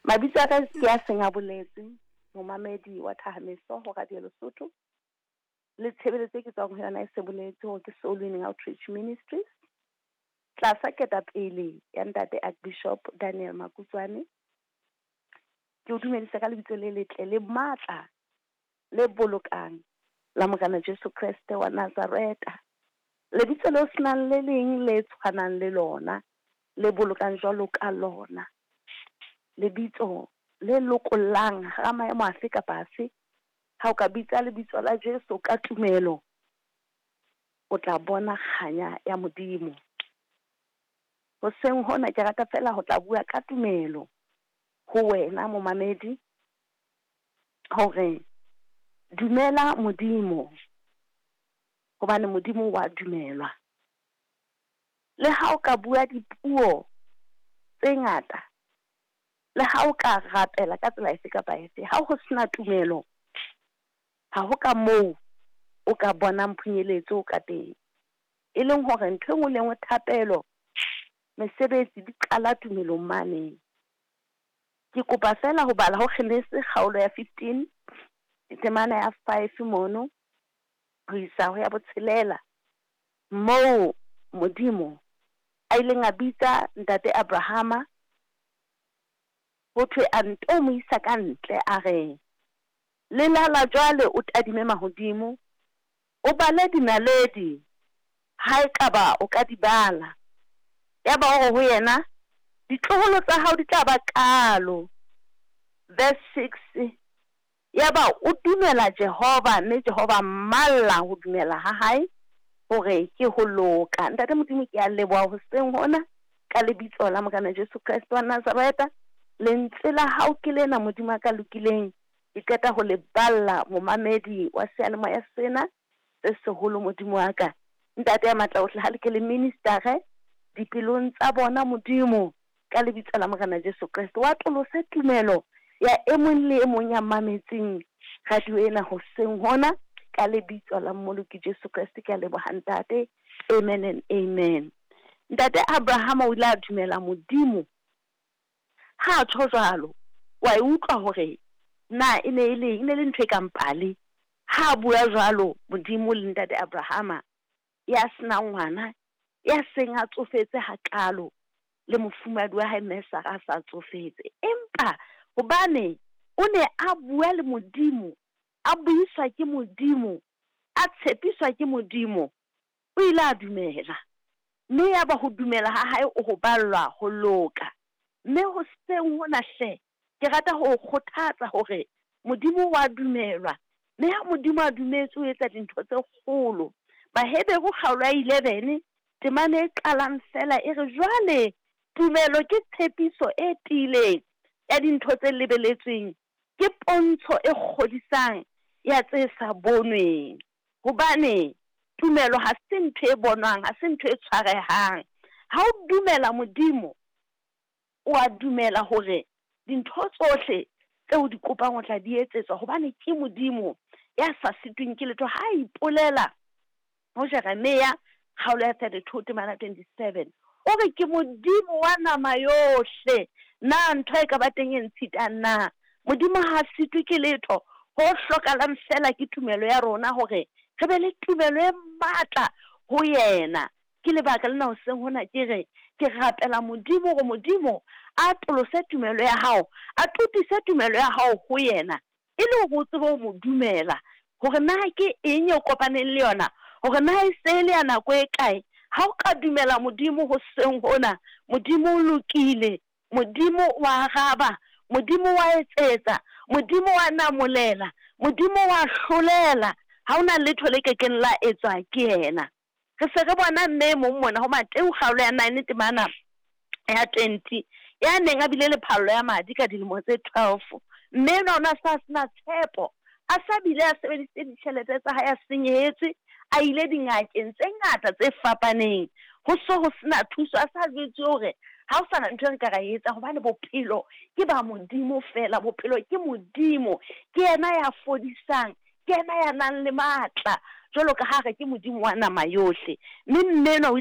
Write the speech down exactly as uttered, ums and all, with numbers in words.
Mabitso a ka ke a seng a boletswe, momamedi wa Thahameso ho Radio Lesotho. Le tshebeletso e ke tswang ho yona e se boletse hore ke Soul Winning Outreach Ministries. Tlasa ketapele ya ntate Archbishop Daniel Makutswane. Ke o dumedisa ka lebitso le letle le matla le bolokang la Morena Jesu Kreste wa Nazareta. Lebitso leo senang le leng le tshwanang le lona, le bolokang jwalo ka lona. Lebitso le lokollang hara maemo afe kapa afe. Ha o ka bitsa lebitso la Jesu ka tumelo, o tla bona kganya ya Modimo. Hoseng hona ke rata fela ho tla bua ka tumelo ho wena momamedi, hore dumela Modimo, hobane Modimo wa dumelwa. Le ha o ka bua dipuo tse ngata, le ha o ka rapela ka tsela efe kapa efe, ha ho sena tumelo, ha ho ka moo o ka bonang phunyeletso ka teng. E leng hore ntho e nngwe le nngwe, thapelo, mesebetsi di qala tumelong mane. Ke kopa fela ho bala ho Genese kgaolo ya fifteen, temana ya five mono ho isa ho ya botshelela, moo Modimo a ileng a bitsa ntate Abrahama, ho thwe a nto mo isa ka ntle, a re lelala jwale o tadime mahodimo, o bale dinaledi ha ekaba o ka di bala. Yaba o re ho yena, ditloholo tsa hao di tla ba kalo. Verse six, yaba o dumela Jehova, mme Jehova mmalla ho dumela ha hae hore ke ho loka. Ntate Modimo, ke a leboha hoseng hona ka lebitso la Morena Jesu Kreste wa Nazareta. Lentswe la hao ke lena, Modimo a ka lokileng. Ke qeta ho le balla momamedi wa seyalemoya sena se seholo, Modimo wa ka. Ntate ya matla ohle, ha le ke le ministere dipelong tsa bona, Modimo, ka lebitso la Morena Jesu Kreste. Wa tolose tumelo ya e mong le e mong ya mametseng radio ena hoseng hona, ka lebitso la Mmoloki Jesu Kreste. Ke a leboha ntate. Amen and amen. Ntate Abraham o ile a dumela Modimo. Ha a tjho jwalo, wa e utlwa hore na e ne e le, e ne le ntho e kang pale. Ha a bua jwalo Modimo le ntate Abrahama, ya senang ngwana, ya seng a tsofetse hakalo, le mofumahadi wa hae mme Sara a sa tsofetse. Empa hobane o ne a bua le Modimo, a buiswa ke Modimo, a tshepiswa ke Modimo, o ile a dumela. Mme yaba ho dumela ha hae o ho ballwa ho loka. Mme hoseng hona hle, ke rata ho o kgothatsa hore Modimo wa dumelwa. Mme ha Modimo a dumetse o etsa dintho tse kgolo. Baheberu kgaolo ya eleven, temana e qalang fela e re jwale tumelo ke tshepiso e tiileng ya dintho tse lebeletsweng, ke pontsho e kgodisang ya tse sa bonweng. Hobane tumelo ha se ntho e bonwang, ha se ntho e tshwarehang. Ha o dumela Modimo, o a dumela hore dintho tsohle tseo di kopang o tla di etsetswa, hobane ke Modimo ya sa sitweng ke letho. Ha a ipolela ho Jeremia kgaolo ya thirty-two temana twenty-seven, o re ke Modimo wa nama yohle, na ntho e ka ba teng e ntshitang na? Modimo ha a sitwe ke letho, ho hlokahalang fela ke tumelo ya rona, hore re be le tumelo e matla ho yena. Ke lebaka lena hoseng hona ke re ke rapela Modimo hore Modimo a tolose tumelo ya hao, a totise tumelo ya hao ho yena, e le hore o tsebe ho mo dumela, hore na ke eng e o kopaneng le yona, hore na e se le ya nako e kae. Ha o ka dumela Modimo hoseng hona, Modimo o lokile, Modimo wa araba, Modimo wa etsetsa, Modimo wa namolela, Modimo wa hlolela. Ha hona letho le kekeng la etswa ke yena. Re se re bona mme e mong mona ho Mateu kgaolo ya nine temana ya twenty, ya neng a bile le phallo ya madi ka dilemo tse twelve. Mme enwa o ne a sa sena tshepo, a sa bile a sebedisitse ditjhelete tsa hae, a senyehetswe, a ile dingakeng tse ngata tse fapaneng, ho so ho sena thuso, a sa jwetswe hore ha ho sana ntho e re ka ra e etsa, hobane bophelo ke ba Modimo fela, bophelo ke Modimo, ke yena ya fodisang, ke yena ya nang le matla, jwalo ka ha re ke Modimo wa nama yohle. Mme mme enwa o